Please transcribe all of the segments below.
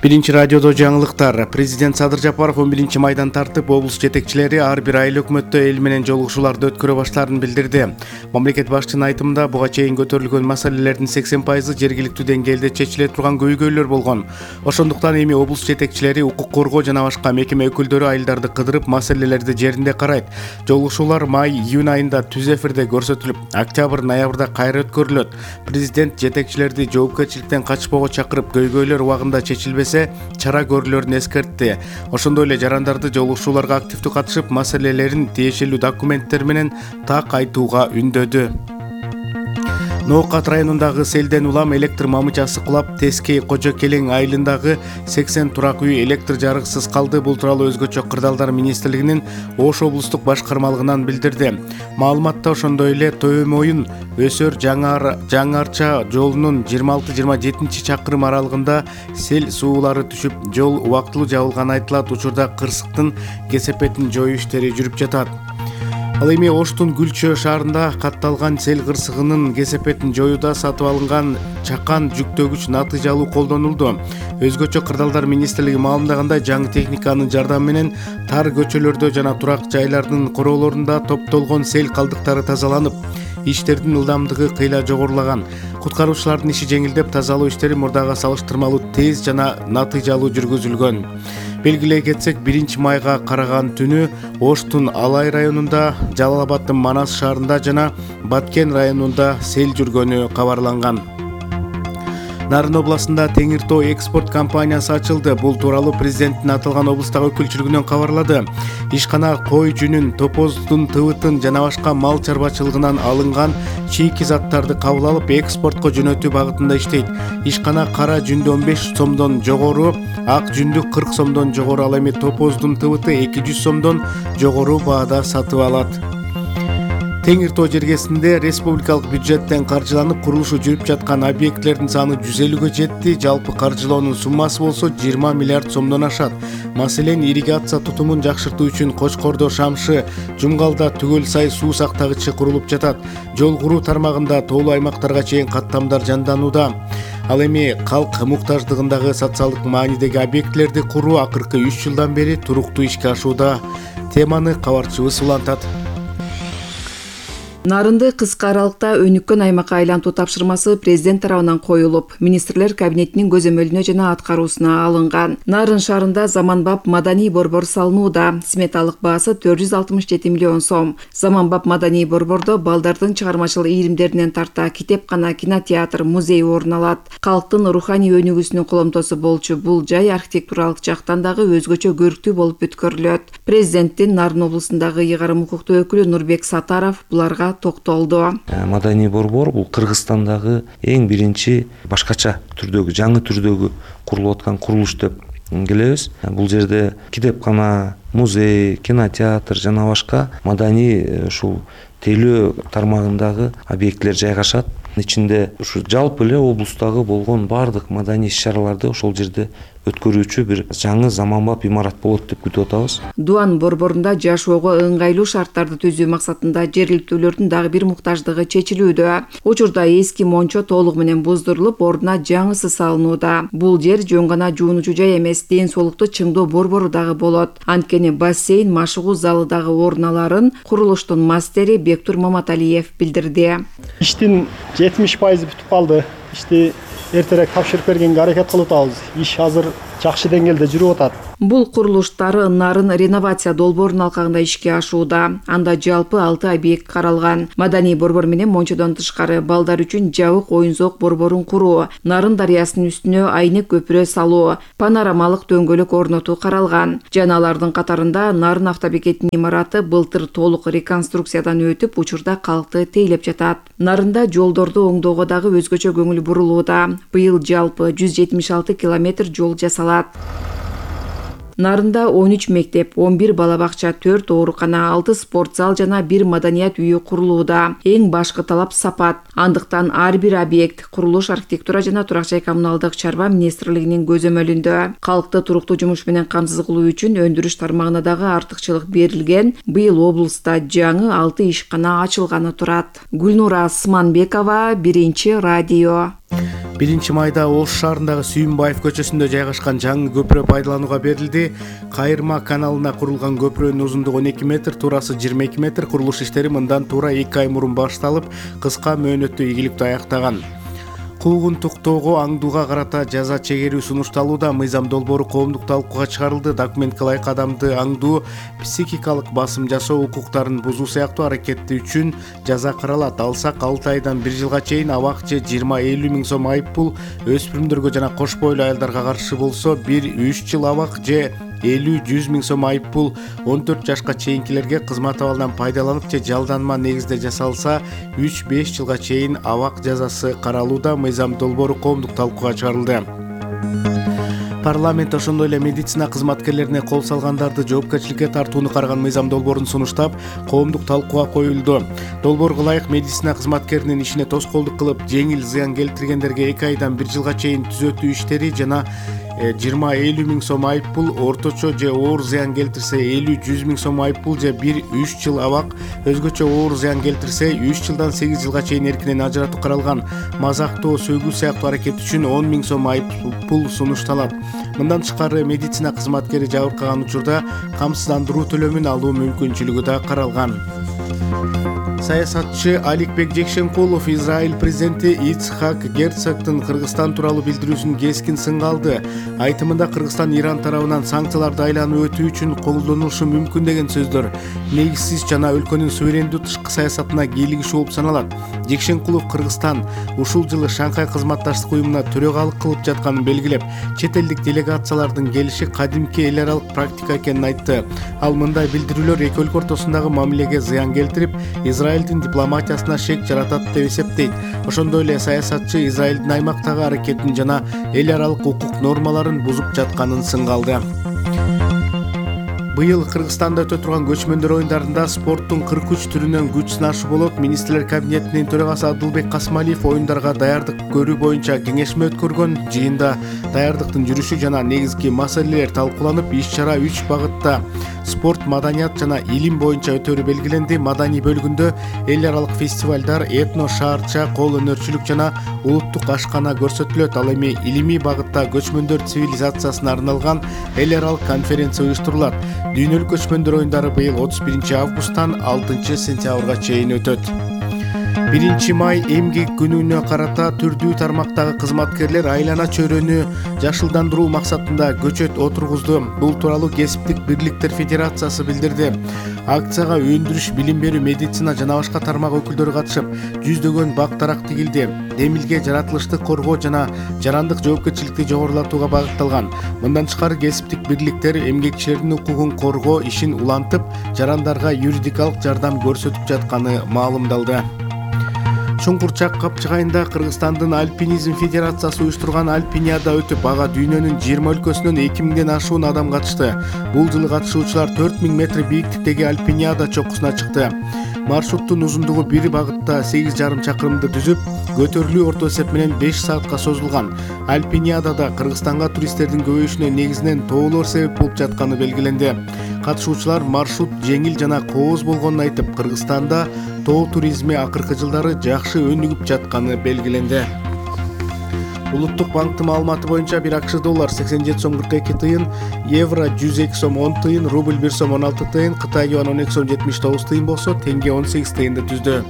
Биринчи радиодо жаңылыктар. Президент Садыр Жапаров 11 майдан тартып, облус жетекчилери ар бир айыл өкмөттө эл менен жолугушууларды өткөрө баштаарын билдирди. Мамлекет башчынын айтымында буга чейин көтөрүлгөн маселелердин 80% жергиликтүү деңгээлде чечиле турган көйгөйлөр болгон. Ошондуктан эми облус жетекчилери, укук коргоо жана башка мекеме өкүлдөрү айылдарды кыдырып, маселелерди жеринде карайт. Жолугушуулар май-июнь айында түз эфирде көрсөтүлүп, октябрь-ноябрда кайра өткөрүлөт. Президент жетекчилерди жоопкерчиликтен качпоого чакырып, көйгөйлөр убагында чечилбесе чара көрүлөрүн эскертти. Ошондой эле жарандарды жолугушууларга активдүү катышып, маселелерин тиешелүү документтер менен так айтууга үндөдү. Ноокат районундагы селден улам электр мамычасы кулап, Тески Кожо Келең айылындагы 80 турак үй электр жарыксыз калды. Бул тууралуу Өзгөчө кырдаалдар министрлигинин Ош облустук башкармалыгынан билдирди. Маалыматта ошондой эле Төмөйүн Өсөр Жаңарча жолунун 26-27 чакырым аралыгында сел суулары түшүп, жол убактылуу жабылганы айтылат. Учурда кырсыктын кесепетин жоюу иштери жүрүп жатат. Ал эми Оштун Гүлчө шаарында катталган сел кырсыгынын кесепетин жоюуда сатып алынган чакан жүктөгүч натыйжалуу колдонулду. Өзгөчө кырдаалдар министрлиги маалымдагандай, жаңы техниканын жардамы менен тар көчөлөрдө жана турак жайлардын короолорунда топтолгон сел калдыктары тазаланып, иштердин ылдамдыгы кыйла жогорулаган. Куткаруучулардын иши жеңилдеп, тазалоо иштери мурдага салыштырмалуу тез жана натыйжалуу жүргүзүлгөн. Белгилей кетсек, 1 майга караган түнү Оштун Алай районунда, Жалал Абаддын Манас шаарында жана Баткен районунда сел жүргөнү кабарланган. Нарын областында Теңир Тоо экспорт компаниясы ачылды. Бул тууралуу президенттин аталган облустагы өкүлчүлүгүнөн кабарлады. Ишкана кой жүнүн, топоздун тыбытын жана башка мал чарбачылыгынан алынган чийки заттарды кабыл алып, экспортко жөнөтүү багытында иштейт. Ишкана кара жүндү 15 сомдон жогору, ак жүндү 40 сомдон жогору, ал эми топоздун тыбыты 200 сомдон жогору баада сатып алат. Теңир Тоо жергесинде республикалык бюджеттен каржыланып курулушу жүрүп жаткан объектлердин саны 150гө жетти. Жалпы каржылоонун суммасы болсо 20 миллиард сомдон ашат. Маселен, ирригация тутумун жакшыртуу үчүн Кочкордо, Шамшы, Жумгалда түгөл сай суу сактагычы курулуп жатат. Жол куруу тармагында тоолуу аймактарга чейин каттамдар жанданууда. Ал эми калк муктаждыгындагы социалдык маанидеги объектлерди куруу акыркы 3 жылдан бери туруктуу ишке ашууда. Теманы кабарчыбыз улантат. Нарынды кыска аралыкта өнүккөн аймакка айлантуу тапшырмасы президент тарабынан коюлуп, министрлер кабинетинин көзөмөлүнө жана аткаруусуна алынган. Нарын шаарында заманбап маданий борбор салынууда. Сметалык баасы 467 миллион сом. Заманбап маданий борбордо балдардын чыгармачыл ийримдеринен тарта китепкана, кинотеатр, музей орун алат. Калктын руханий өнүгүүсүнүн коломтосу болчу бул жай архитектуралык жактан дагы өзгөчө көрктүү болуп өткөрүлөт. Президенттин Нарын облусундагы ыйгарым укуктуу өкүлү Нурбек Сатаров буларга токтолду. Маданий борбор бул Кыргызстандагы эң биринчи башкача түрдөгү, жаңы түрдөгү курулуп аткан курулуш деп келебиз. Бул жерде китепкана, музей, кинотеатр жана башка маданий ушул тейлөө тармагындагы объекттер жайгашат. Ичинде ушу жалпы эле облустагы болгон бардык маданий иш-чараларды ошол жерде өткөрүүчү бир жаңы заманбап имарат болот деп күтүп атабыз. Дуан борборунда жашоого ыңгайлуу шарттарды түзүү максатында жергиликтүүлөрдүн дагы бир муктаждыгы чечилүүдө. Учурда эски мончо толугу менен буздурулуп, ордуна жаңысы салынууда. Бул жер жөн гана жуунуучу жай эмес, ден соолукту чыңдоо борбору дагы болот. Анткени бассейн, машыгуу залы дагы орун аларын курулуштун мастери Бектур Маматалиев билдирди. Иштин 70% бүтүп калды. Ишти эртерээк тапшырып бергенге аракет кылып атабыз. Иш азыр жакшы деңгээлде жүрүп атат. Бул курулуштары Нарын реновация долбоорунун алкагында ишке ашууда. Анда жалпы 6 объект каралган. Маданий борбор менен мончодон тышкары балдар үчүн жабык оюн-зоок борборун куруу, Нарын дарыясынын үстүнө айнек көпүрө салуу, панорамалык дөңгөлөк орнотуу каралган. Жана алардын катарында Нарын автобекетинин имараты былтыр толук реконструкциядан өтүп, учурда калкты тейлеп жатат. Нарында жолдорду оңдоого дагы өзгөчө көңүл бурулууда. Быйыл жалпы 176 километр жол жасалат. Нарында 13 мектеп, 11 бала бакча, 4 оорукана, 6 спорт зал жана 1 маданият үйү курулууда. Эң башкы талап сапат. Андыктан ар бир объект курулуш, архитектура жана турак жай коммуналдык чарба министрлигинин көзөмөлүндө. Калкты туруктуу жумуш менен камсыз кылуу үчүн өндүрүш тармагына дагы артыкчылык берилген. Быйыл облуста жаңы 6 ишкана ачылганы турат. Гүлнура Сманбекова, Биринчи радио. 1 майда Ош шаарындагы Сүйүнбаев көчөсүндө жайгашкан жаңы көпүрө пайдаланууга берилди. Кайырма каналына курулган көпүрөнүн узундугу 12 метр, туурасы 22 метр. Курулуш иштери мындан туура 2 ай мурун башталып, кыска мөөнөттө ийгиликтүү аяктаган. Куугун туктоого аңдууга карата жаза чегерүү сунушталууда. Мыйзам долбоору коомдук талкууга чыгарылды. Документке ылайык адамды аңдуу, психикалык басым жасоо, укуктарын бузуу сыяктуу аракети үчүн жаза каралат. Алсак 6 айдан 1 жылга чейин абак же 20-50 миң сом айыппул, өспүрүмдөргө жана кош бойлуу аялдарга каршы болсо 1-3 жыл абак же 50-100 миң сом айыппул, 14 жашка чейинкилерге кызмат абалынан пайдаланып же жалданма негизде жасалса 3-5 жылга чейин абак жазасы каралууда. Мыйзам долбоору коомдук талкууга чыгарылды. Парламент ошондой эле медицина кызматкерлерине кол салгандарды жоопкерчиликке тартууну караган мыйзам долбоорун сунуштап, коомдук талкууга коюлду. Долбоорго ылайык медицина кызматкеринин ишине тоскоолдук кылып, жеңил зыян келтиргендерге 2 айдан 1 жылга чейин түзөтүү иштери жана 20-50 миң сом айыппул, орточо же оор зыян келтирсе 50-100 миң сом айыппул же 1-3 жыл абак, өзгөчө оор зыян келтирсе 3 жылдан 8 жылга чейин эркинен ажыратуу каралган. Мазактоо, сөгүү сыяктуу аракет үчүн 10 миң сом айыппул сунушталат. Мындан тышкары медицина кызматкери жабыркаган учурда камсыздандыруу төлөмүн алуу мүмкүнчүлүгү да каралган. Саясатчы Аликбек Жекшенкулов Израиль президенти Ицхак Герцогдун Кыргызстан тууралуу билдирүүсүн кескин сынга алды. Айтымында Кыргызстан Иран тарабынан санкцияларды айланып өтүү үчүн колдонулушу мүмкүн деген сөздөр негизсиз жана өлкөнүн суверендүү тышкы саясатына кийлигишүү болуп саналат. Жекшенкулов Кыргызстан ушул жылы Шанхай кызматташтык уюмуна төрөгалык кылып жатканын белгилеп, чет элдик делегациялардын келиши кадимки эл аралык практика экенин айтты. Ал мындай билдирүүлөр эки өлкө ортосундагы мамилеге зыян келтирип, Израилдин дипломатиясына шек жаратат деп эсептейт. Ошондой эле саясатчы Израилдин аймактагы аракетин жана эл аралык укук нормаларын бузуп жатканын сынга алды. Быйыл Кыргызстанда өтө турган көчмөндөр оюндарында спорттун 43 түрүнөн күч сынашуу болот. Министрлер кабинетинин төрагасы Адылбек Касмалиев оюндарга даярдык көрүү боюнча кеңешме өткөргөн. Жыйында даярдыктын жүрүшү жана негизги маселелер талкууланып, иш-чара 3 багытта спорт, маданият жана илим боюнча өтөрү белгиленди. Маданий бөлүгүндө эл аралык фестивалдар, этно, шаарча, кол өнөрчүлүк жана улуттук ашкана көрсөтүлөт. Ал эми илимий багытта көчмөндөр цивилизациясына арналган эл аралык конференция уюштурулат. Дүйнөлүк көчмөндөр оюндары быйыл 31 августтан 6 сентябрга чейин өтөт. 1 май эмгек күнүнө карата түрдүү тармактагы кызматкерлер айлана чөйрөнү жашылдандыруу максатында көчөт отургузду. Бул тууралуу Кесиптик бирликтер федерациясы билдирди. Акцияга өндүрүш, билим берүү, медицина жана башка тармак өкүлдөрү катышып, жүздөгөн бак дарак тигилди. Демилге жаратылышты коргоо жана жарандык жоопкерчиликти жогорулатууга багытталган. Мындан тышкары Кесиптик бирликтер эмгекчилердин укугун коргоо ишин улантып, жарандарга юридикалык жардам көрсөтүп жатканы маалымдалды. Чуңкурчак капчыгайында Кыргызстандын Альпинизм федерациясы уюштурган Альпиниада өтүп, ага дүйнөнүн 20 өлкөсүнөн 2000ден ашуун адам катышты. Бул жылы катышуучулар 4000 метр бийиктиктеги Альпиниада чокусуна чыкты. Маршруттун узундугу бир багытта 8,5 чакырымды түзүп, көтөрүлүү орто эсеп менен 5 саатка созулган. Альпиниадада Кыргызстанга туристтердин көбөйүшүнө негизинен тоолор себеп болуп жатканы белгиленди. Катышуучулар маршрут жеңил жана кооз болгонун айтып, Кыргызстанда тоо туризми акыркы жылдары жакшы өнүгүп жатканы белгиленди. Улуттук банктын маалыматы боюнча бир АКШ доллар 87 сом 42 тыйын, евро 102 сом 10 тыйын, рубль 1 сом 16 тыйын, Кытай юан 12 сом 79 тыйын болсо, тенге 18 тыйынды түздү.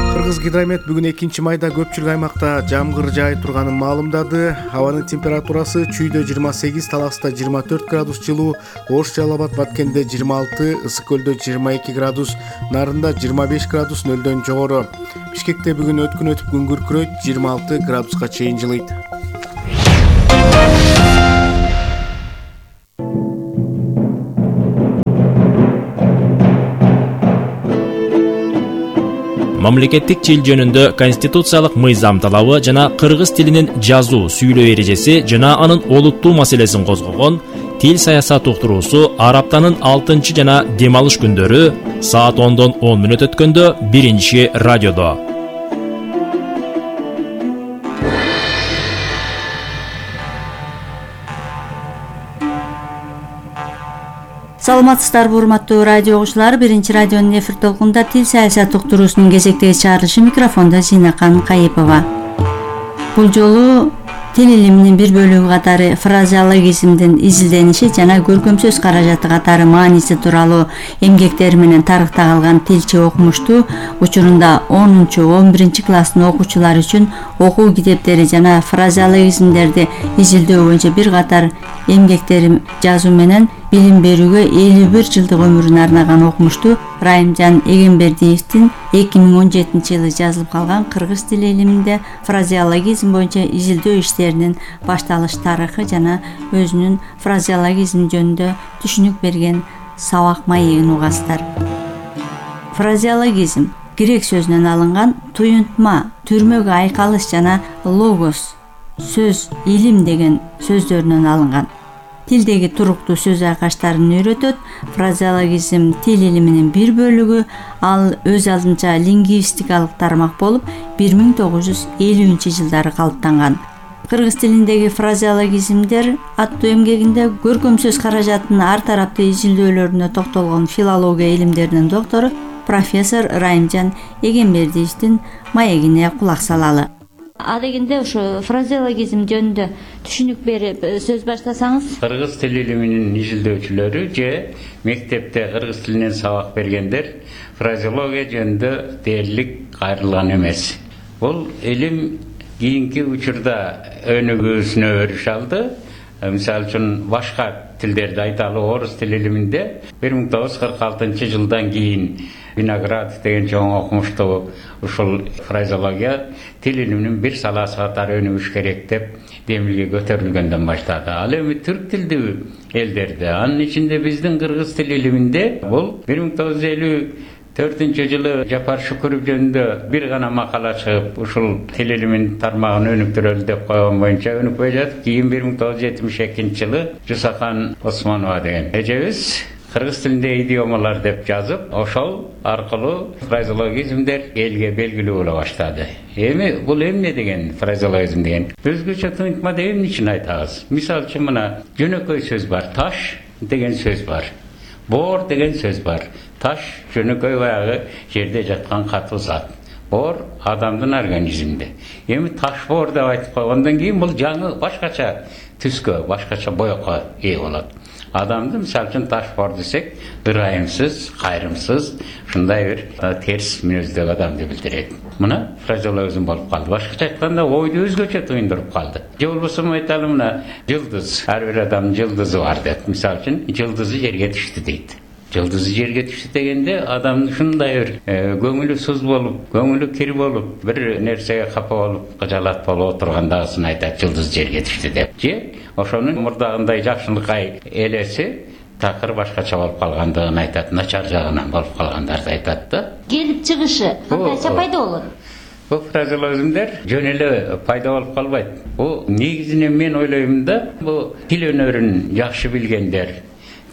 Кыргызгидромет бүгүн 2 майда көпчүлүк аймакта жамгыр жаай турганын маалымдады. Абанын температурасы Чүйдө 28, Таласта 24 градус жылуу, Ош, Жалал Абад, Баткенде 26, Ысык көлдө 22 градус, Нарында 25 градус нөлдөн жогору. Бишкекте бүгүн өткүн өтүп күн күркүрөйт, 26 градуска чейин жылыйт. Мамлекеттик тил жөнүндө конституциялык мыйзам талабы жана кыргыз тилинин жазуу, сүйлөө эрежеси жана анын олуттуу маселесин козгогон тил саясат уктуруусу ар аптанын 6 жана дем алыш күндөрү саат 10дон 10 мүнөт өткөндө 1-радиодо. Саламатсыздарбы урматтуу радио угуучулар, биринчи радионун эфир толкунунда тил саясат уктуруусунун кезектеги чыгарылышы, микрофондо Зинакан Кайыпова. Бул жолу тил илиминин бир бөлүгү катары фразеологизмдин изилдениши жана көркөм сөз каражаты катары мааниси тууралуу эмгектери менен тарыхта калган тилчи окумушту учурунда 10-11 класстын окуучулары үчүн окуу китептери жана фразеологизмдерди изилдөө боюнча бир катар эмгектери жазуу менен билим берүүгө 51 жылдык өмүрүн арнаган окумушту Райымжан Эгембердиевдин 2017 жылы жазылып калган кыргыз тили илиминде фразеологизм боюнча изилдөө иштеринин башталыш тарыхы жана өзүнүн фразеологизм жөнүндө түшүнүк берген сабак маегин угасыздар. Фразеологизм грек сөзүнөн алынган туюнтма, түрмөгө айкалыш жана логос, сөз, илим деген сөздөрүнөн алынган. Тилдеги туруктуу сөз айкаштарын үйрөтөт. Фразеологизм тил илиминин бир бөлүгү, ал өз алдынча лингвистикалык тармак болуп 1950-жылдары калыптанган. Кыргыз тилиндеги фразеологизмдер аттуу эмгегинде көркөм сөз каражатынын ар тараптуу изилдөөлөрүнө токтолгон филология илимдеринин доктору профессор Райымжан Эгембердиевдин маегине кулак салалы. Адегенде ушу фразеологизм жөнүндө түшүнүк берип сөз баштасаңыз. Кыргыз тил илиминин изилдөөчүлөрү же мектепте кыргыз тилинен сабак бергендер фразеология жөнүндө дээрлик кайрылган эмес. Бул илим кийинки учурда өнүгүүсүнө өрүш алды. Мисалы үчүн башка тилдерди айталы, орус тил илиминде 1946-жылдан кийин Виноградов деген чоң окумуштуу ушул фразеология тил илиминин бир саласы катары өнүгүш керек деп демилге көтөрүлгөндөн баштады. Ал эми түрк тилдүү элдерде, анын ичинде биздин кыргыз тил илиминде бул 1954-жылы Жапар Шүкүров жөнүндө бир гана макала чыгып, ушул тил илиминин тармагын өнүктүрөлү деп койгон боюнча өнүкпөй жатып, кийин 1972-жылы Жусахан Осмонова деген эжебиз кыргыз тилинде идиомалар деп жазып, ошол аркылуу фразеологизмдер элге белгилүү боло баштады. Эми бул эмне деген фразеологизм деген? Өзгөчө туюнтма деп эмне үчүн айтабыз? Мисалы үчүн мына жөнөкөй сөз бар, таш деген сөз бар. Боор деген сөз бар. Таш жөнөкөй баягы жерде жаткан катуу зат. Боор адамдын организминде. Эми таш боор деп айтып койгондон кийин бул жаңы башкача түскө, башкача боёкко ээ болот. Адамды мисалы үчүн таш боор десек, ырайымсыз, кайрымсыз, ушундай бир терс мүнөздөгү адамды билдирет. Мына фразеологизм болуп калды. Башкача айтканда ойду өзгөчө туюндуруп калды. Же болбосо айталы мына жылдыз, ар бир адамдын жылдызы бар деп. Мисалы үчүн жылдызы жерге түштү дейт. Жылдызы жерге түштү дегенде адамдын ушундай бир көңүлү суз болуп, көңүлү кир болуп, бир нерсеге капа болуп, кыжалат болуп отургандагысын айтат, жылдыз жерге түштү деп. Же ошонун мурдагындай жакшылыкай элеси такыр башкача болуп калгандыгын айтат, начар жагынан болуп калгандарды айтат да. Келип чыгышы кантайча пайда болот? Бул фразеологизмдер жөн эле пайда болуп калбайт. Бул негизинен мен ойлойм да, бул тил өнөрүн жакшы билгендер,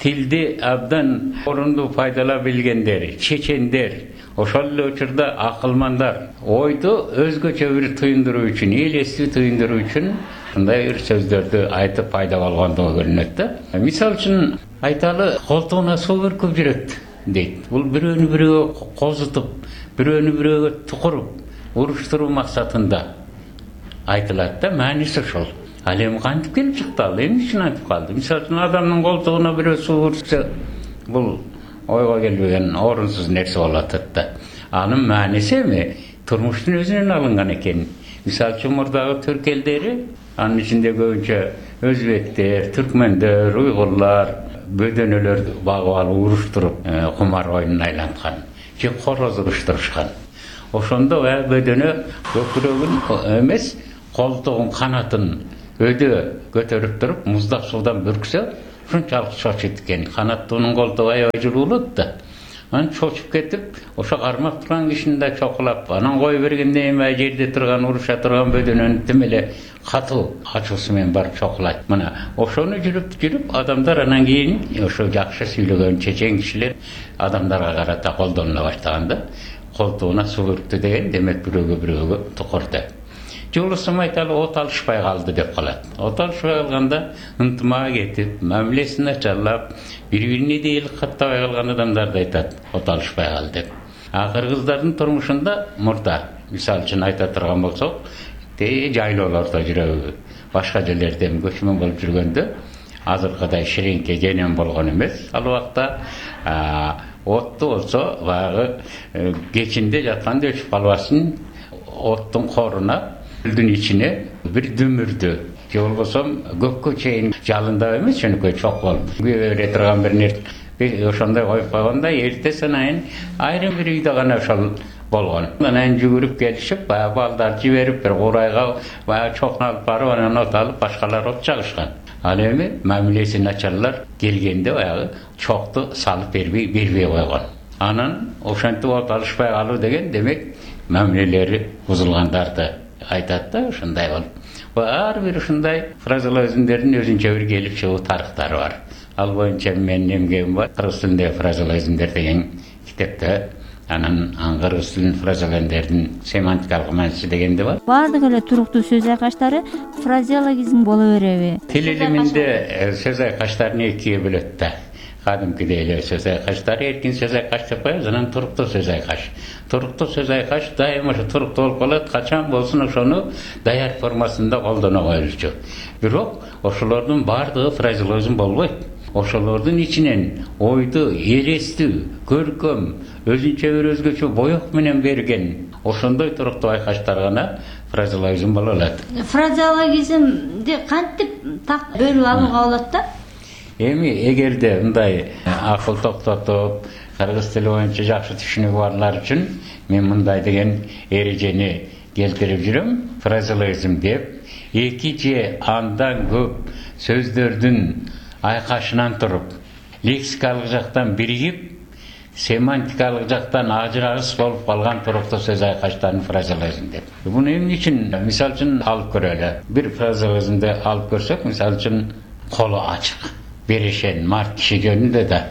тилди абдан орундуу пайдалап билгендер, чечендер, ошол эле учурда акылмандар ойду өзгөчө бир туюндуруу үчүн, элестүү туюндуруу үчүн ушундай бир сөздөрдү айтып пайда болгондугу көрүнөт да. Мисалы үчүн айталы, колтугуна суу бүркүп жүрөт дейт. Бул бирөөнү бирөөгө козутуп, бирөөнү бирөөгө тукуруп, уруштуруу максатында айтылат да, мааниси ошол. Ал эми кантип келип чыкты, ал эмне үчүн айтып калды? Мисалы үчүн адамдын колтугуна бирөө суу бүрксө, бул ойго келбеген орунсуз нерсе болуп атат да. Анын мааниси эми турмуштун өзүнөн алынган экен. Мисалы үчүн мурдагы түрк элдери, анын ичинде көбүнчө өзбектер, түркмөндөр, уйгурлар бөдөнөлөрдү багып алып уруштуруп, кумар оюнуна айланткан. Же короз уруштурушкан. Ошондо бөдөнө көкүрөгүн эмес, колтугун, канатын өйдө көтөрүп туруп, муздак суудан бүрксө, ушунчалык чочут экен. Канаттуунун колтугу аябай жылуулут да. Анан чочуп кетип, ошо кармап турган кишини да чокулап, анан кое бергенден кийин жерде турган, уруша турган бөдөнөнү тим эле катуу ачуусу менен барып чокулат. Мына ошону жүрүп адамдар анан кийин ошо жакшы сүйлөгөн чечен кишилер адамдарга карата колдонула баштаганда, колтугуна суу бүрктү деген демек бирөөгө тукур деп. жолусум айталы от алышпай калды деп калат. От алышпай калганда ынтымага кетип, мамилесин начарлап, бири-бирине дээрлик каттабай калган адамдарды айтат, от алышпай калды деп. Кыргыздардын турмушунда мурда, мисалы үчүн айта турган болсок, жайлоолордо жүрөбү, башка жерлерден көчмөн болуп жүргөндө азыркыдай ширеңке женем болгон эмес. Ал убакта отту болсо баягы кечинде жатканда өчүп калбасын оттун коруна, гүлдүн ичине бир дүмүрдү же болбосо көккө чейин жалындап эмес, жөнөкөй чок болуп бере турган бир нерсе ошондой коюп койгондо эрте санайын айрым бир үйдө гана ошол болгон. Анан жүгүрүп келишип, баягы балдар жиберип бир курайга баягы чокун алып барып, анан от алып, башкалар от жагышкан. Ал эми мамилеси начарлар келгенде баягы чокту салып бербей койгон. Анан ошентип от алышпай калуу деген демек мамилелери бузулгандарды айтат да, ошондой болуп. Ар бир ушундай фразеологизмдердин өзүнчө бир келип чыгуу тарыхтары бар. Ал боюнча менин эмгегим бар. Кыргыз тилиндеги фразеологизмдер деген китепте анан кыргыз тилинин фразеологизмдердин семантикалык мааниси дегенде бар. Баардык эле туруктуу сөз айкаштары фразеологизм боло береби? Тил илиминде сөз айкаштарын экиге бөлөт да. Кадимкидей эле сөз айкаштары эркин сөз айкаш деп коебуз, анан туруктуу сөз айкаш. Туруктуу сөз айкаш дайыма ошо туруктуу болуп калат, качан болсун ошону даяр формасында колдоно коюлчу. Бирок ошолордун баардыгы фразеологизм болбойт. Ошолордун ичинен ойду элестүү, көркөм, өзүнчө бир өзгөчө боек менен берген ошондой туруктуу айкаштар гана фразеологизм боло алат. Фразеологизмди кантип так бөлүп алууга болот да? Эми эгерде мындай акыл токтотуп, кыргыз тили боюнча жакшы түшүнүгү барлар үчүн мен мындай деген эрежени келтирип жүрөм. Фразеологизм деп эки же андан көп сөздөрдүн айкашынан туруп, лексикалык жактан биригип, семантикалык жактан ажырагыс болуп калган туруктуу сөз айкаштарын фразеологизм деп. Буну эмне үчүн мисал үчүн алып көрөлү. Бир фразеологизмди алып көрсөк, мисал үчүн колу ачык, берешен, март киши жөнүндө да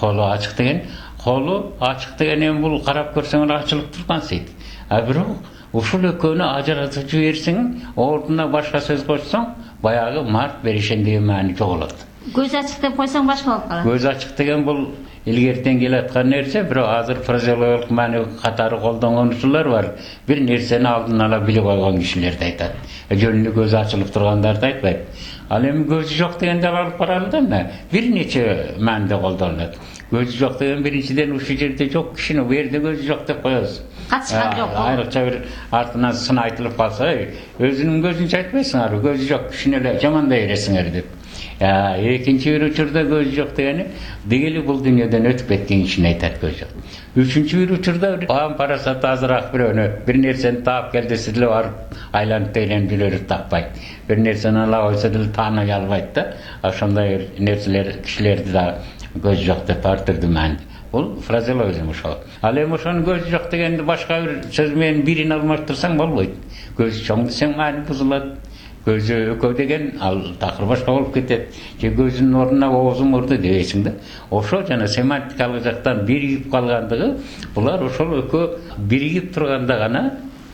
колу ачык деген эми бул карап көрсөң ачылып турган сейт. Бирок ушул экөөнү ажыратып жиберсең, ордуна башка сөз кошсоң, баягы март, берешен деген маани жоголот. Көз ачык деп койсоң башка болуп калат. Көз ачык деген бул илгертен келаткан нерсе, бирок азыр фразеологиялык маани катары колдонгончулар бар. Бир нерсени алдын ала билип койгон кишилерди айтат. Жөнүндө көзү ачылып тургандарды айтпайт. Ал эми көзү жок дегенди алып карайлы да, бир нече мааниде колдонулат. Көзү жок деген биринчиден ушул жерде жок кишини бу жерде көзү жок деп коебуз. Катышкан жок. Айрыкча бир артынан сын айтылып калса, өзүнүн көзүнчө айтпайсыңар, көзү жок кишини эле жамандай бересиңер деп. Экинчи бир учурда көзү жок дегени бул дүйнөдөн өтүп кеткен кишини айтат көзү жок. Үчүнчү бир учурда ам парасаты азыраак бирөөнү бир нерсени таап кел десе деле барып айланып тейленип жүрөрүп таппайт. Бир нерсени ала койсо деле тааный албайт да. Ошондой нерселер кишилерди да көзү жок деп ар түрдүү маани. Бул фразеологизм ошол. Ал эми ошонун көзү жок дегенди башка бир сөз менен бирин алмаштырсаң болбойт. Көзү чоң десең маани бузулат. Көзү экөө деген ал такыр башка болуп кетет. Же көзүнүн ордуна оозу мурду дебейсиң да. Ошо жана семантикалык жактан биригип калгандыгы, булар ошол экөө биригип турганда гана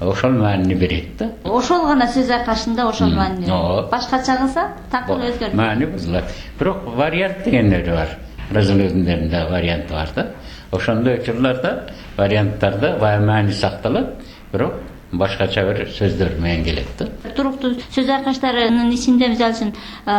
ошол маанини берет да. Ошол гана сөз айкашында ошол маанини берет. Башкача кылса такыр өзгөрөт. Маани бузулат. Бирок вариант дегендери бар. Фразеологизмдеринде варианты бар да. Ошондой учурларда варианттарда бая маани сакталат, бирок башкача бир сөздөр менен келет да. Туруктуу сөз айкаштарынын ичинде мисалы үчүн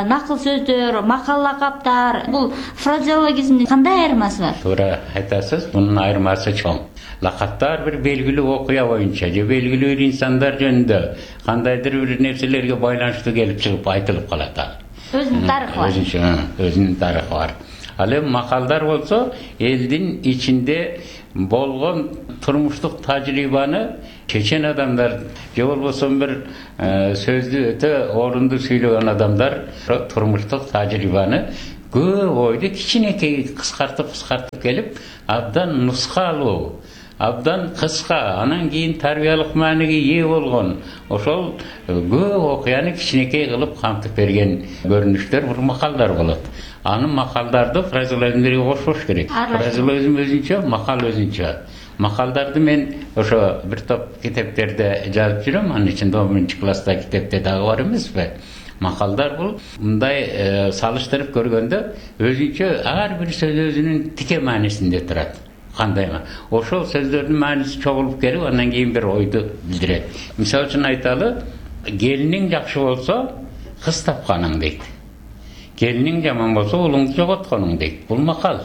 накыл сөздөр, макал лакаптар, бул фразеологизмдин кандай айырмасы бар? Туура айтасыз, мунун айырмасы чоң. Лакаптар бир белгилүү окуя боюнча же белгилүү бир инсандар жөнүндө кандайдыр бир нерселерге байланыштуу келип чыгып айтылып калат ал. Өзүнүн тарыхы бар. Өзүнүн тарыхы бар. Ал эми макалдар болсо элдин ичинде болгон турмуштук тажрыйбаны чечен адамдар же болбосо бир сөздү өтө орунду сүйлөгөн адамдар турмуштук тажрыйбаны көп ойду кичинекей кыскартып келип абдан нускалуу, абдан кыска, анан кийин тарбиялык мааниге ээ болгон ошол көп окуяны кичинекей кылып камтып берген көрүнүштөр бул макалдар болот. Анын макалдарды фразеологизмдерге кошпош керек. Фразеологизм өзүнчө, макал өзүнчө. Макалдарды мен ошо бир топ китептерде жазып жүрөм. Анын ичинде 11-класста китепте дагы бар эмеспи? Макалдар бул мындай салыштырып көргөндө өзүнчө ар бир сөз өзүнүн тике маанисинде турат. Кандай ошол сөздөрдүн мааниси чогулуп келип, андан кийин бир ойду билдирет. Мисалы үчүн айталы, келиниң жакшы болсо кыз тапканың дейт. Келиниң жаман болсо улуңду жоготконуң дейт. Бул макал.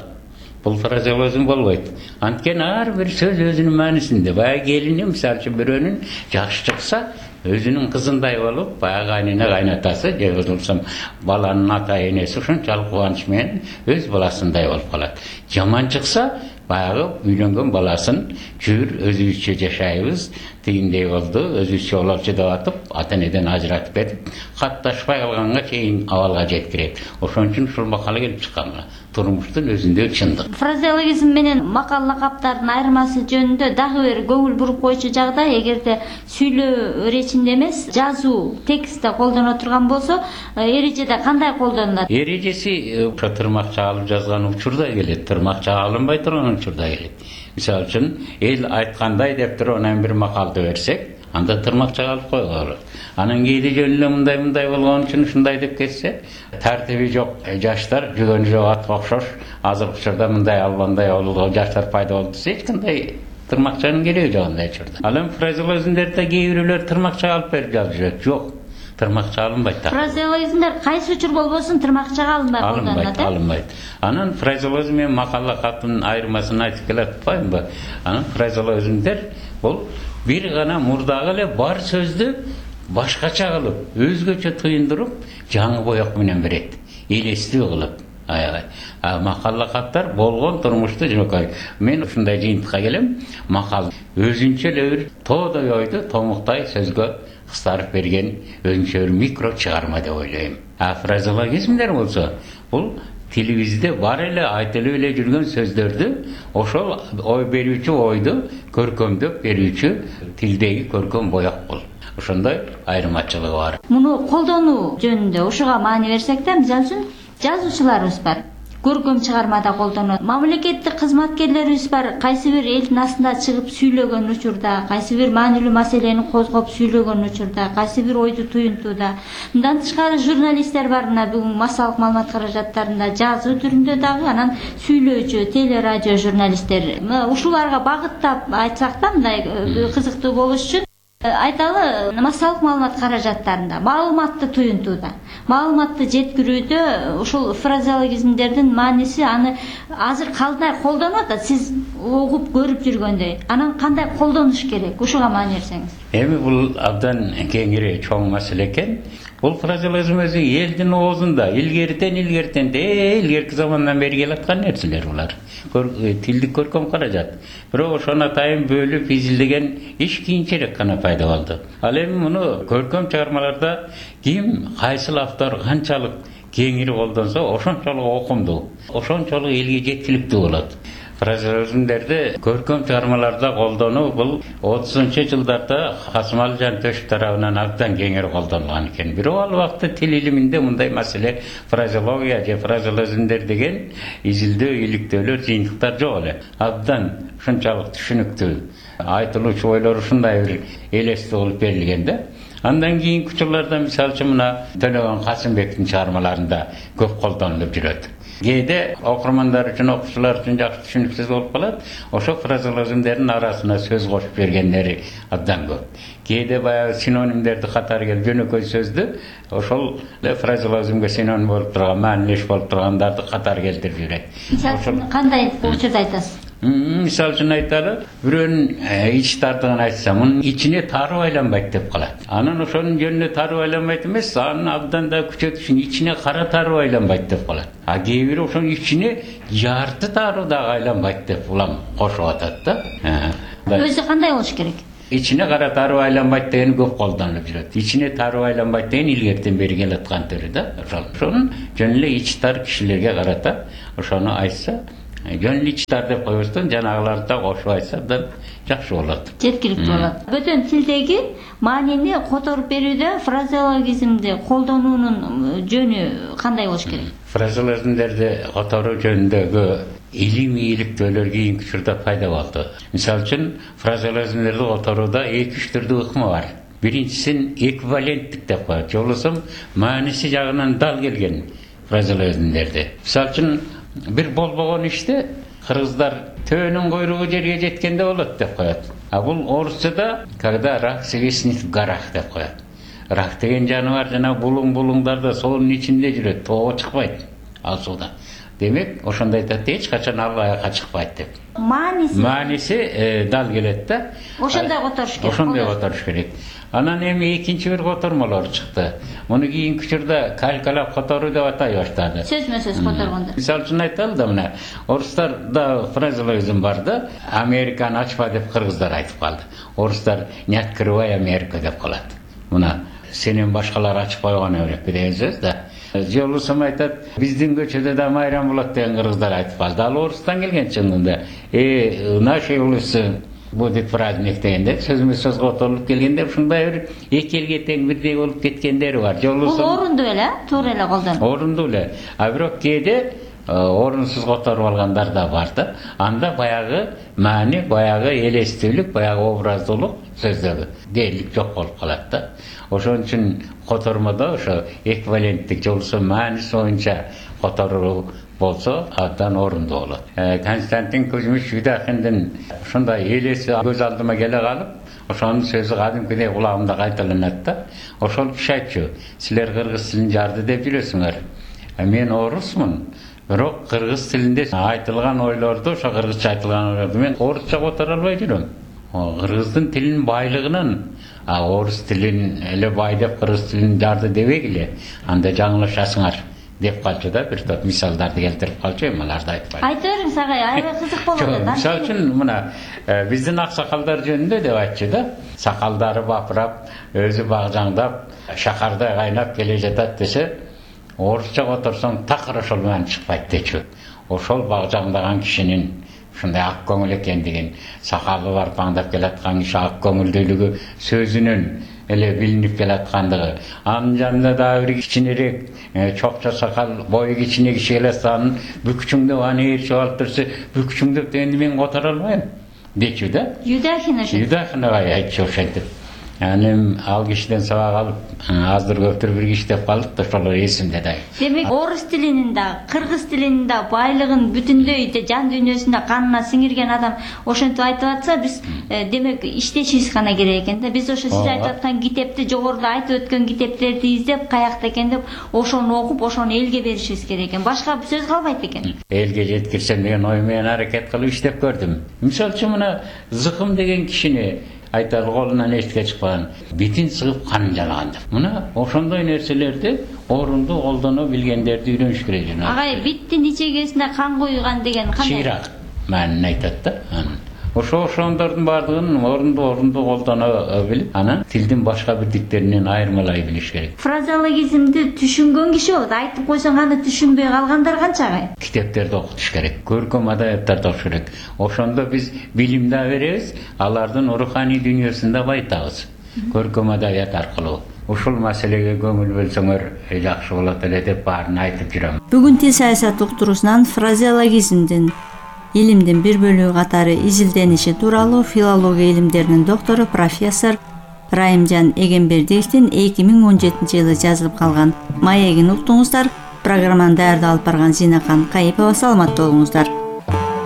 Бул фразеологизм болбойт. Анткени ар бир сөз өзүнүн маанисинде. Баягы келини мисалы үчүн бирөөнүн жакшы чыкса, өзүнүн кызындай болуп, баягы кайнына кайнатасы, же болсом баланын ата энеси ушунчалык кубаныч менен өз баласындай болуп калат. Жаман чыкса, баягы үйлөнгөн баласын жүр өзүбүзчө жашайбыз, тигиндей болду, өзүбүзчө бололчу деп атып, ата энеден ажыратып кетип, катташпай калганга чейин абалга жеткирет. Ошон үчүн ушул макала келип чыккан. Турмуштун өзүндө чындык. Фразеологизм менен макал лакаптардын айырмасы жөнүндө дагы бир көңүл буруп койчу жагдай, эгерде сүйлөө речинде эмес, жазуу текстте колдоно турган болсо, эрежеде кандай колдонулат? Эрежеси ошо тырмак чагалып жазган учурда келет, тырмак чагалынбай турган учурда келет. Мисалы үчүн эл айткандай деп туруп анан бир макалды берсек, анда тырмак чагалып койгола. Анан кээде жөн эле мындай болгон үчүн ушундай деп кетсе, тартиби жок жаштар, жүгөнү жок атка окшош, азыркы учурда мындай албандай болду, жаштар пайда болду десе, эч кандай тырмакчанын кереги жок андай учурда. Ал эми фразеологизмдерде кээ бирөөлөр тырмак чагалып берип жазып жүрөт. Жок, тырмак чагалынбайт. Фразеологизмдер кайсы учур болбосун тырмак чагалынбай колдонулат. Алынбайт. Анан фразеологизм менен макала каттын айырмасын айтып келе атпаймынбы? Анан фразеологизмдер бул бир гана мурдагы эле бар сөздү башкача кылып, өзгөчө туюндуруп, жаңы боек менен берет. Элестүү кылып. Аябай. Макала каттар болгон турмушту жөнөкөй. Мен ушундай жыйынтыкка келем. Макал өзүнчө эле бир тоодой ойду томуктай сөзгө кыстарып берген өзүнчө бир микро чыгарма деп ойлойм. Фразеологизмдер болсо, бул тилибизде бар эле айтылып эле жүргөн сөздөрдү ошол ой берүүчү ойду көркөмдөп берүүчү тилдеги көркөм боек бул. Ошондой айырмачылыгы бар. Муну колдонуу жөнүндө ушуга маани берсек да, мисалы үчүн жазуучуларыбыз бар. Көркөм чыгармада колдонот. Мамлекеттик кызматкерлерибиз бар. Кайсы бир элдин астында чыгып сүйлөгөн учурда, кайсы бир маанилүү маселени козгоп сүйлөгөн учурда, кайсы бир ойду туюнтууда. Мындан тышкары журналисттер бар. Мына бүгүн массалык маалымат каражаттарында жазуу түрүндө дагы, анан сүйлөөчү телерадио журналисттер. Ушуларга багыттап айтсак да, мындай кызыктуу болуш үчүн айталы, массалык маалымат каражаттарында, маалыматты туюнтууда, маалыматты жеткирүүдө ушул фразеологизмдердин мааниси аны азыр кандай колдонуп атат, сиз угуп көрүп жүргөндөй. Анан кандай колдонуш керек? Ушуга маани берсеңиз. Эми бул абдан кеңири чоң маселе экен. Бул фразеологизм өзү элдин оозунда илгертен илгерки замандан бери келаткан нерселер булар. Тилдик көркөм каражат. Бирок ошону атайын бөлүп изилдеген иш кийинчерээк гана пайда болду. Ал эми муну көркөм чыгармаларда ким, кайсыл автор канчалык кеңири колдонсо, ошончолук окумдуу, ошончолук элге жеткиликтүү болот. Фразеологизмдерди көркөм чыгармаларда колдонуу бул 30-жылдарда Касымалы Жантөшев тарабынан абдан кеңири колдонулган экен. Бирок ал убакта тил илиминде мындай маселе фразеология же фразеологизмдер деген изилдөө, иликтөөлөр, жыйынтыктар жок эле. Абдан ушунчалык түшүнүктүү айтылуучу ойлор ушундай бир элестүү болуп берилген да. Андан кийинки учурларда мисалы үчүн мына Төлөгөн Касымбектин чыгармаларында көп колдонулуп жүрөт. Кээде окурмандар үчүн, окуучулар үчүн жакшы түшүнүксүз болуп калат. Ошо фразеологизмдердин арасына сөз кошуп бергендери абдан көп. Кээде баягы синонимдерди катары келип жөнөкөй сөздү ошол фразеологизмге синоним болуп турган, маанилеш болуп тургандарды катары келтирип жүрөт. Мисалы кандай учурда айтасыз? Мисалы үчүн айталы, бирөөнүн ич тартыгын айтса, мунун ичине тарып айланбайт деп калат. Анан ошонун жөнүнө тарып айланбайт эмес, анын абдан да күчөтүшүн ичине кара тарып айланбайт деп калат. А кээ бири ошонун ичине жарты тарып дагы айланбайт деп улам кошуп атат да. Өзү кандай болуш керек? Ичине кара тарып айланбайт деген көп колдонулуп жүрөт. Ичине тарып айланбайт деген илгертен бери келаткан түрү да. Ошонун жөн эле ич тар кишилерге карата ошону айтса, жөн эле ич тар деп койбостон жанагыларды да кошуп айтса абдан жакшы болот. Жеткиликтүү болот. Бөтөн тилдеги маанини которуп берүүдө фразеологизмди колдонуунун жөнү кандай болуш керек? Фразеологизмдерди которуу жөнүндөгү илим ийгиликтөөлөр кийинки учурда пайда болду. Мисалы үчүн фразеологизмдерди которууда 2-3 түрдүү ыкма бар. Биринчисин эквиваленттик деп коет. Жолусум мааниси жагынан дал келген фразеологизмдерди. Мисалы үчүн бир болбогон иште кыргыздар төөнүн койругу жерге жеткенде болот деп коет. А бул орусчада когда рак свистнет в горах деп коет. Рак деген жаныбар жана булуң-булуңдарда суунун ичинде жүрөт, тоого чыкпайт, ал сууда. Демек, ошондой айтат, эч качан ал аякка чыкпайт деп. Мааниси дал келет да. Ошондой которуш керек. Ошондой которуш керек. Анан эми экинчи бир котормолор чыкты. Муну кийинки учурда калкалап которуу деп атай баштады. Сөзмө-сөз которгондо. Мисалы үчүн айталы да, мына орустарда фразеологизм бар да, Американы ачпа деп кыргыздар айтып калды. Орустар не открывай Америка деп калат. Мына сенен башкалар ачып койгон Америка деген сөз да. Жолусум айтат, биздин көчөдө да майрам болот деген кыргыздар айтып калды. Ал орустан келген чындыгында. Наши улусы будет праздник дегенде сөзмө-сөз которулуп келгенде ушундай бир эки элге тең бирдей болуп кеткендери бар. Бул орунду эле, туура эле колдонуп. Орунду эле. А бирок кээде орунсуз которуп алгандар да бар да. Анда баягы маани, баягы элестүүлүк, баягы образдуулук сөздөгү дээрлик жок болуп калат да. Ошон үчүн котормодо ошо эквиваленттик жолусу мааниси боюнча которуу болсо абдан орунду болот. Константин Кузьмич Юдахиндин ушундай элеси көз алдыма келе калып, ошонун сөзү кадимкидей кулагымда кайталанат да. Ошол киши айтчу, силер кыргыз тилин жарды деп жүрөсүңөр. Мен орусмун. Бирок кыргыз тилинде айтылган ойлорду, ошо кыргызча айтылган ойлорду мен орусча которо албай жүрөм. Кыргыздын тилинин байлыгынан, орус тилин эле бай деп кыргыз тилин жарды дебегиле, анда жаңылышасыңар деп калчу да, бир топ мисалдарды келтирип калчу, эми аларды айтпайм. Айта бериңиз агай, аябай кызык болот. Мисалы үчүн мына биздин аксакалдар жөнүндө деп айтчу да. Сакалдары бапырап, өзү багжаңдап, шакардай кайнап келе жатат десе, орусча которсоң такыр ошол менен чыкпайт дечү. Ошол багжаңдаган кишинин ушундай ак көңүл экендигин, сакалы барпаңдап келаткан киши ак көңүлдүүлүгү сөзүнөн эле билинип келаткандыгы. Анын жанында дагы бир кичинерээк чокчо сакал, бою кичине киши келатканын бүкчүңдөп аны ээрчип алып турса, бүкчүңдөп дегенди мен которо албайм дечү да. Юдахин айтчу ошентип. Анын ал кишиден сабак алып, аздыр көптүр bir киши деп калдык да, ошолор эсимде да. Демек, орус тилинин да, кыргыз тилинин да байлыгын бүтүндөй жан дүйнөсүндө канына сиңирген адам ошентип айтып атса, биз демек иштешибиз гана керек экен да. Биз ошо сиз айтып аткан китепти, жогоруда айтып өткөн китептерди издеп, каякта экен деп, ошону окуп, ошону элге беришибиз керек экен. Башка сөз калбайт экен. Элге жеткирсем деген ой менен аракет кылып иштеп көрдүм. Мисалы үчүн мына Зыкым деген кишини айтар колунан эшикке чыкпаган, битин сыгып канын жалаган деп. Мына ошондой нерселерди орунду колдоно билгендерди үйрөнүш керек. Агай, биттин ичегесине кан куйган деген кандай? Чыйрак маанин айтат да. Ошондордун баардыгын орунду колдоно билип, анан тилдин башка бирдиктеринен айырмалай билиш керек. Фразеологизмди түшүнгөн киши болот, айтып койсоң аны түшүнбөй калгандар канча агай? Китептерди окутуш керек, көркөм адабияттарды окуш керек. Ошондо биз билим да беребиз, алардын руханий дүйнөсүн да байытабыз. Көркөм адабият аркылуу. Ушул маселеге көңүл бөлсөңөр жакшы болот эле деп баарын айтып жүрөм. Бүгүн тил саясат уктуруусунан фразеологизмдин илимдин бир бөлүгү катары изилдениши тууралуу филология илимдеринин доктору профессор Райымжан Эгембердиевдин 2017-жылы жазылып калган маегин уктуңуздар. Программаны даярдап алып барган Зинакан Кайыпова. Саламатта болуңуздар.